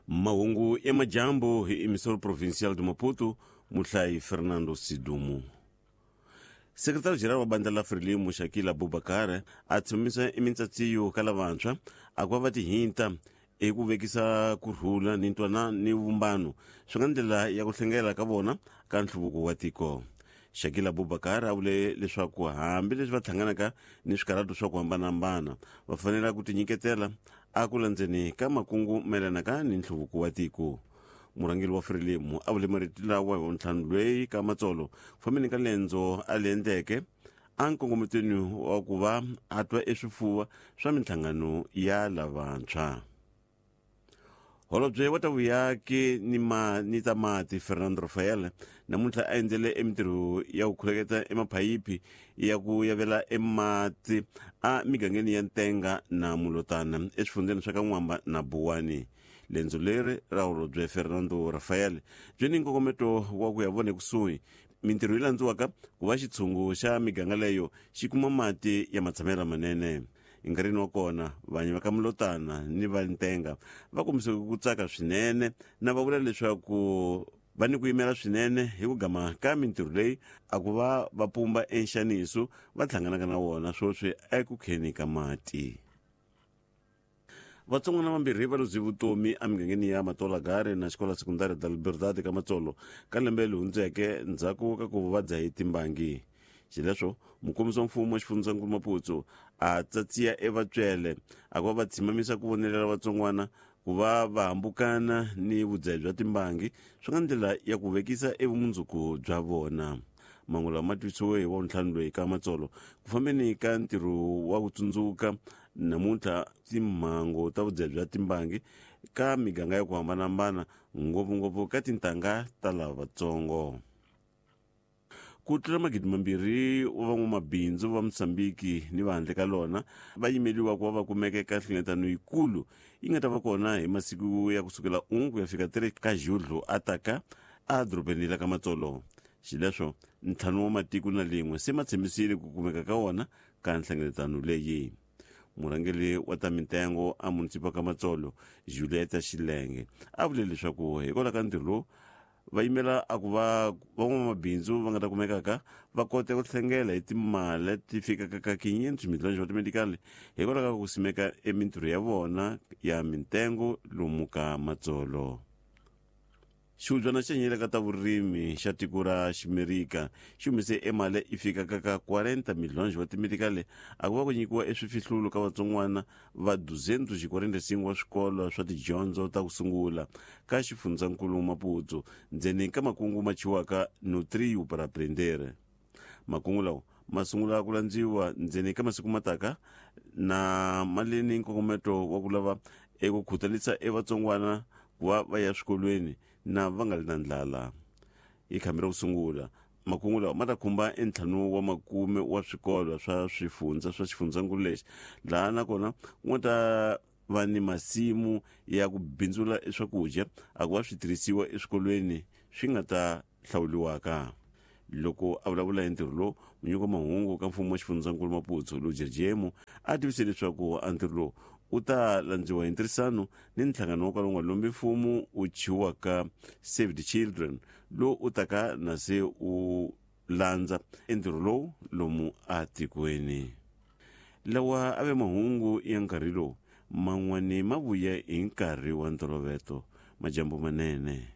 Mahungu ya majambu hi Emissor Provincial de Maputo, muhlayi Fernando Sidumo. Sekretari General wa bandla la Frelimo Shakila Abubakar a tshembisa emintshatsiyo ka lavantshwa a ku va va tihinta hi ku vekisa ku rhula ni ntwanano ni vumbano swi nga ndlela ya ku hlengela ka vona ka nhluvuko wa tiko. Shakila Abubakar a vule leswaku hambileswi va hlanganaka ni swikarhato swa ku hambanahambana va fanele ku tinyiketela a ku landzeni ka makungu mayelanaka ni nhluvuko wa tiko. Murhangeri wa Frelimo a vule marito lawa hi Wavuntlhanu lweyi ka Matsolo ku fambeni ka lendzo a li endleke a nkongometweni wa ku va a twa eswifuva swa minhlangano ya lavantshwa. Holobye wa ta vuyaki ni ma ni ta mati Fernando Rafael namuntlha a endzele emintirho ya ku khuleketa emaphayiphi ya ku yavela emati a migangeni ya Ntenga na Mulotana eswifundzeni swa ka N'wamba na Buwani. Lendzo leri ra holobye Fernando Rafael byi ni nkongometo wa ku ya vona ekusuhi mintirho yi landziwaka ku va xitshungu xa miganga leyo xi kuma mati ya matshamelo lamanene. Enkarhini wa kona vanyi va ka Mulotana ni va Ntenga va kombise ku tsaka swinene na va vula leswaku va ni ku yimela swinene hi ku gama ka mintirho leyi a ku va va pumba enxaniso va hlanganaka na wona sweswi eku kheni ka mati. Vatsongwana vambirhi va luze vutomi emigangeni ya Matolagare na Xikola Sekundari da Liberdade ka Matsolo ka lembe leri hundzeke ndzhaku ka ku va dzahe timbangi. Xileswo, mukombisi wa mfumo wa xifundzankulu Maputsu a tsatsiya evatswele a ku va va tshimamisa ku vonelela vatsongwana ku va va hambukana ni vudzahi bya timbangi swi nga ndlela ya ku vekisa evumundzuku bya vona. Mangu lawa ma tivisiwe hi Wavuntlhanu loyi ka Matsolo ku fambeni ka ntirho wa ku tsundzuka Namuntlha timhangu ta vudzahi bya timbangi ka miganga ya ku hambanahambana ngopfungopfu ka tintangha ta lavatsongo. Ku tlula 2000 wa van'wamabindzu va Mozambiki ni va handle ka lona va yimeliwa ku va va kumeka eka nhlengeletano yikulu yi nga ta va kona hi masiku ya ku sukela 1 ku ya fika 3 ka Julho a taka a dorobeni la ka Matsolo. Xileswo, ntlhanu wa matiko na lin'we se ma tshembisile ku kumeka ka wona ka nhlengeletano leyi. Murhangeri wa ta mintengo a munisipa ka Matsolo, Julieta Xilenge, a vule leswaku hikwalaho ka ntirho lowu va yimela a ku va van'wamabindzu va nga ta kumekaka va kota ku hlengela hi timali leti fikaka ka 500 miliyoni wa timedikali hikwalaho ka ku simeka emintirho ya vona ya mintengo lomu ka Matsolo. Xihubyana xa nyele ka ta vurimi xa tiko ra Ximerika xi humese emali yi fikaka ka 40 milhões wa timetikali a ku va ku nyikiwa eswifihlulo ka vatsongwana va 245 wa swikolo swa tidyondzo ta ku sungula ka xifundzankulu Maputo ndzeni ka makungu ma thyiwaka Nutrio para Aprender. Makungu lawa ma sungula ku landziwa ndzeni ka masiku mataka na ma le ni nkongometo wa ku lava eku khutalisa evatsongwana ku va va ya swikolweni na va nga ri na ndlala. Hi khambi ra ku sungula, makungu lawa ma ta khumba entlhanu wa makume wa swikolo swa swifundza swa xifundzankulu lexi, laha nakona ku nga ta va ni masimu ya ku bindzula swakudya a ku va switirhisiwa eswikolweni swi nga ta hlawuliwaka. Loko a vulavula hi ntirho lowu, munyiki wa mahungu ka mfumo wa xifundzankulu Maputo, Luja Jemu, a tivise leswaku a ntirho lowu wu ta landziwa hi ntirhisano ni nhlangano wa kwala nga lombi mfumo wu thyiwaka Save the Children, lowu u taka na se u landza entirho lowu lomu atikweni. Lawa a ve mahungu ya nkarhi lowu, man'wani ma vuya hi nkarhi wa ntoloveto. Majambu manene.